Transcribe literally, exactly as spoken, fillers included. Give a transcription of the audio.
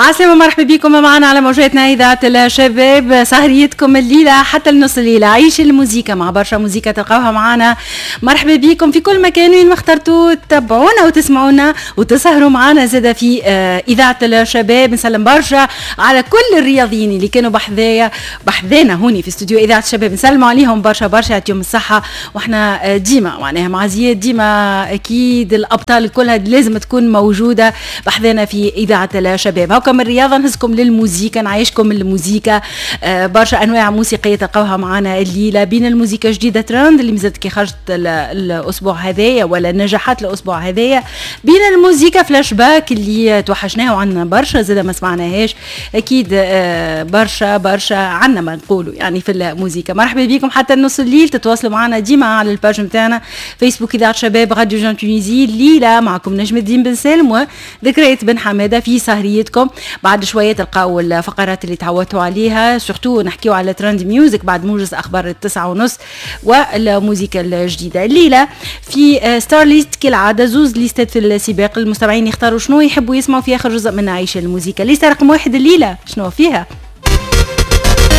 عسلامة، مرحبا بكم معنا على موجاتنا إذاعة الشباب. سهريتكم الليلة حتى النص الليلة عيش الموزيكا مع برشا موزيكا تلقاوها معنا. مرحبا بكم في كل مكان وين ما اخترتوا تتبعونا وتسمعونا وتسهروا معنا زادة في آه، إذاعة الشباب. نسلم برشا على كل الرياضيين اللي كانوا بحذايا بحذانا هوني في استوديو إذاعة الشباب، نسلموا عليهم برشا برشا، يعطيهم الصحة. واحنا آه، ديما معناها مع زياد ديما أكيد الأبطال كلها لازم تكون موجودة بحذانا في إذاعة الشباب. هاكا من الرياضة نهزكم للموزيكا، نعيشكم الموزيكا، آه، برشا أنواع موسيقية تلقاوها معنا الليلة، بين الموزيكا جديدة ترند اللي مازالت كي خرجت الأسبوع هذايا ولا نجاحات الأسبوع هذايا، بين الموزيكا فلاش باك اللي توحشناها وعندنا برشا زادة ما سمعناهاش، أكيد آه، برشا برشا عندنا ما نقولوا يعني في الموزيكا. مرحبا بكم حتى النص الليل، تتواصلوا معنا ديما على ال page نتاعنا فيسبوك إذاعة شباب راديو Jeune Tunisie. الليلة معكم نجم الدين بن سالم وذكريات بن حمادة في سهريتكم. بعد شوية تلقاو الفقرات اللي تعودتوا عليها، surtout نحكيو على trend music بعد موجز أخبار التسعة ونص والموزيكا الجديدة. الليلة في star list كالعادة زوز ليستات في السباق، المستمعين يختاروا شنو يحبوا يسمعوا في آخر جزء من عيش الموزيكا. ليستة رقم واحد الليلة شنو فيها؟